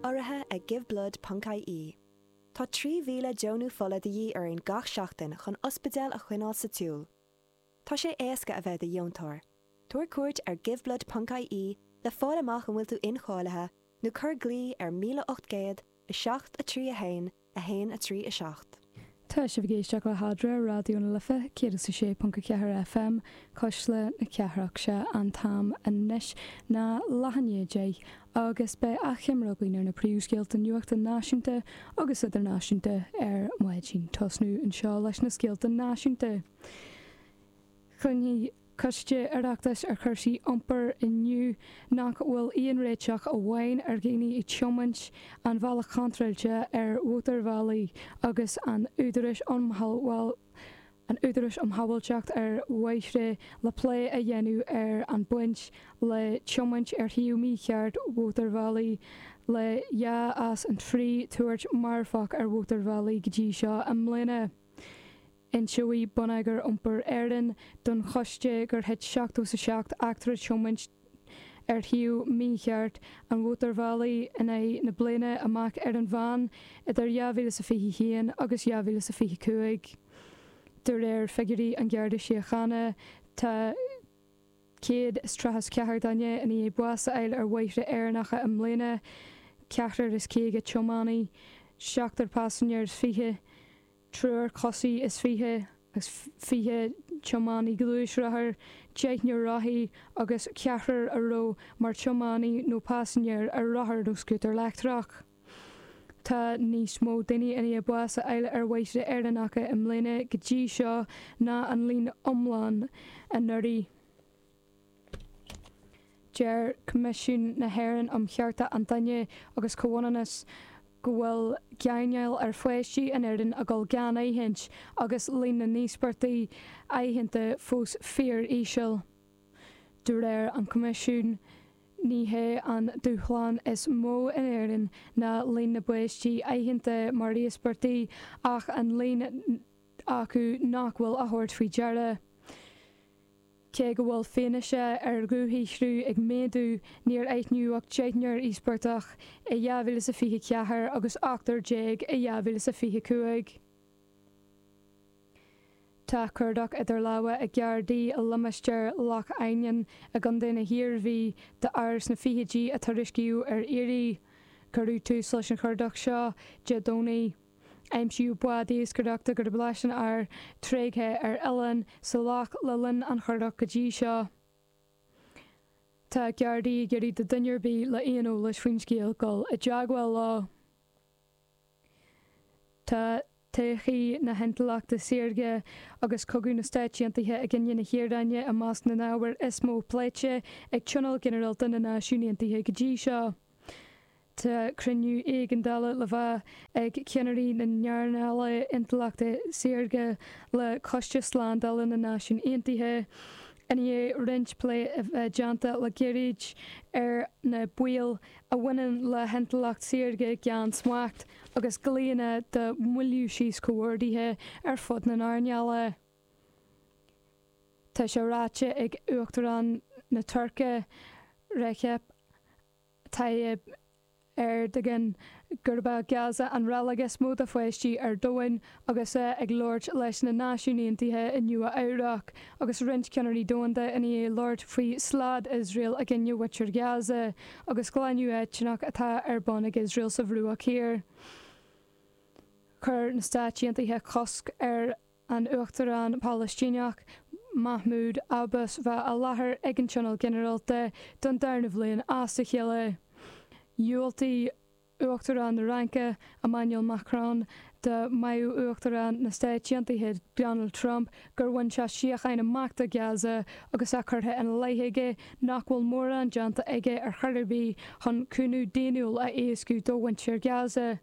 Urraithe ag Giveblood ponc ie. Tá 3,000 deonú fola de dhíth orainn gach seachtain chun ospidéil a choinneáil sa tsiúl. Tá sé éasca a bheith i do dheontóir. Tabhair cuairt ar Giveblood ponc ie le fáil amach an bhfuil tú incháilithe nó cuir glao ar 1800 7 3 1 1 3 7. Tá sibh ag éisteacht le hAdre, Raidió na Life 106.4 FM, Cuisle na Cathrach. Sé an t-am anois ná leath i ndiaidh 10 agus beidh achoimre againn ar na príomhscéalta nuachta náisiúnta agus idirnáisiúnta ar maidin. Tosnú anseo leis na scéalta náisiúnta. Cluinfidh Coiste Oireachtais ar chúrsaí iompair inniu nach bhfuil aon réiteach amháin ar dhaoine ag tiomáint an bhealach chontráilte ar mhótarbhealaí agus an Údaráis um an Údaráis um Shábháilteacht ar Bhóithre le plé a dhéanamh ar an baint le tiomáint ar thaobh mícheart mhótarbhealaí le 2 as an 3 tuairt marfach ar mhótarbhealaí go dtí seo i mbliana. Inseoidh Bonneagar Iompair Éireann don choiste gur thit 77 eachtra tiomáint ar thaobh mícheart an mhótarbhealaigh in aghaidh na bliana amach ar an mheán idir 2021 agus 2025. De réir figiúirí an Gharda Síochána, tá 134 duine i ndiaidh bás a fháil ar bhóithre Éireannacha i mbliana, ceathrar is 50 tiománaí, seachtar paisinéir is 20. triúr coisí is 20 agus 20 tiománaí gluaisrothair, deichniúr rothaí agus ceathrar a raibh mar tiománaí nó paisinéir ar rothar nó scútar leictreach. Tá níos mó daoine i ndiaidh bás a fháil ar bhóithre Éireannacha i mbliana go dtí seo ná an líon iomlán anuraidh. Deir Coimisiún na hÉireann um Chearta an Duine agus Comhionannas go bhfuil gáinneáil ar pháistí in Éirinn ag dul gan aithint agus líon na n-íospartaigh aitheanta fós fíor-íseal. De réir an Choimisiúin, ní hé an dúshlán is mó in Éirinn ná líon na bpáistí aitheanta mar íospartaigh ach an líon acu nach bhfuil á thabhairt faoi deara. Cé go bhfuil fianaise ar dhúshaothrú ag méadú, níor aithníodh ach deichniúr íospartach i 2024 agus ochtar déag i 2025. Tá cuardach idir lámha ag Gardaí i limistéar Loch Eidhneáin i gContae na hIarmhí d'fhear sna fichidí a tuairiscíodh ar iarraidh. Cuireadh tús leis an chuardach seo Dé Domhnaigh. Aimsíodh bád iascaireachta gurb leis an fhear, tréigthe ar oileán sa loch le linn an chuardach go dtí seo. Tá Gardaí ag iarraidh do dhuine ar bith le aon eolais faoin scéal dul i dteagmháil leo. Tá todhchaí na hintleachta saorga agus cogadh na Stáit Aontaithe i gcoinne na hIaráine i measc na n-ábhar is mó pléite ag Tionól Ginearálta na Náisiún Aontaithe go dtí seo. Tá cruinniú éigeandála le bheith ag ceannairí na n-earnála intleachta saorga le Coiste Slándála na Náisiún Aontaithe i ndiaidh roinnt plé a bheith déanta le gairid ar na baoil a bhaineann le hintleacht saorga gan smacht agus glaonna do mhoilliú síos comhordaithe ar fud na n-earnála. Tá sé ráite ag Uachtarán na Tuirce, Recep Tayyip Erdogan gurb é Gaza an reilig is mó do pháistí ar domhan agus é ag labhairt leis na Náisiúin Aontaithe i Nua Eabhrac agus roinnt ceannairí domhanda i ndiaidh labhairt faoi slad Iosrael i gcoinne mhuintir Ghaza agus glanadh eitneach atá ar bun ag Iosrael sa Bhruach Thiar. Chuir na Stáit Aontaithe cosc ar an Uachtarán Palaistíneach, Mahmoud Abbas bheith i láthair ag an Tionól Ginearálta don darna bhliain as a chéile. Dhiúltaigh Uachtarán na Fhraince, Emmanuel Macron, do mhaíomh Uachtarán na Stáit Aontaithe, Donald Trump, gur bhain sé síocháin amach do Gaza agus é curtha ina leith aige nach bhfuil mórán déanta aige ar chor ar bith chun cúnamh daonnúil a éascú do mhuintir Gaza.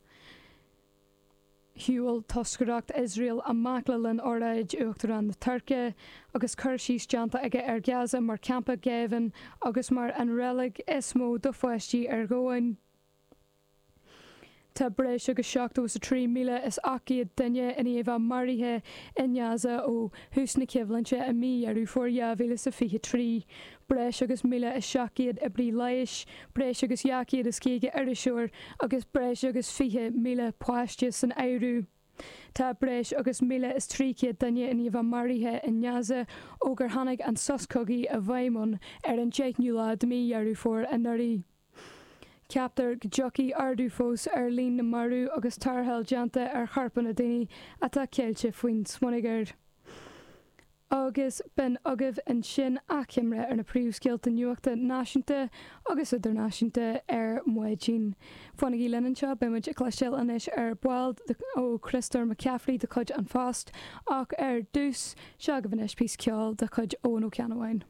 Shiúil toscaireacht Iosrael amach le linn óráid Uachtarán na Tuirce, agus cur síos déanta aige ar Ghaza mar champa géibhinn agus mar an reilig is mó do pháistí ar dhomhan. Tá breis agus 73,800 duine i ndiaidh bheith maraithe i nGaza ó thús na coimhlinte i mí Dheireadh Fómhair 2023. breis agus 1,700 oibrí leighis, breis agus 250 iriseoir agus breis agus 20,000 páiste san áireamh. Tá breis agus 1,300 duine i ndiaidh a bheith maraithe i nGaza ó gur tháinig an sos cogaidh i bhfeidhm ann ar an deichiú lá de mhí Dheireadh Fómhair anuraidh. Ceaptar go dtiocfaidh ardú fós ar líon na marbh agus tarrtháil déanta ar chorpanna daoine atá ceilte faoin smionagar. Agus b'in agaibh ansin achoimre ar na príomhscéalta nuachta náisiúnta agus idirnáisiúnta ar maidin. Fanaigí linn anseo, beidh muid ag cloisteáil anois ar ball ó Chriostóir McCaffrey de chuid An Phost ach ar dtús, seo agaibh anois píosa ceoil de chuid Eoin Ó Ceannabháin.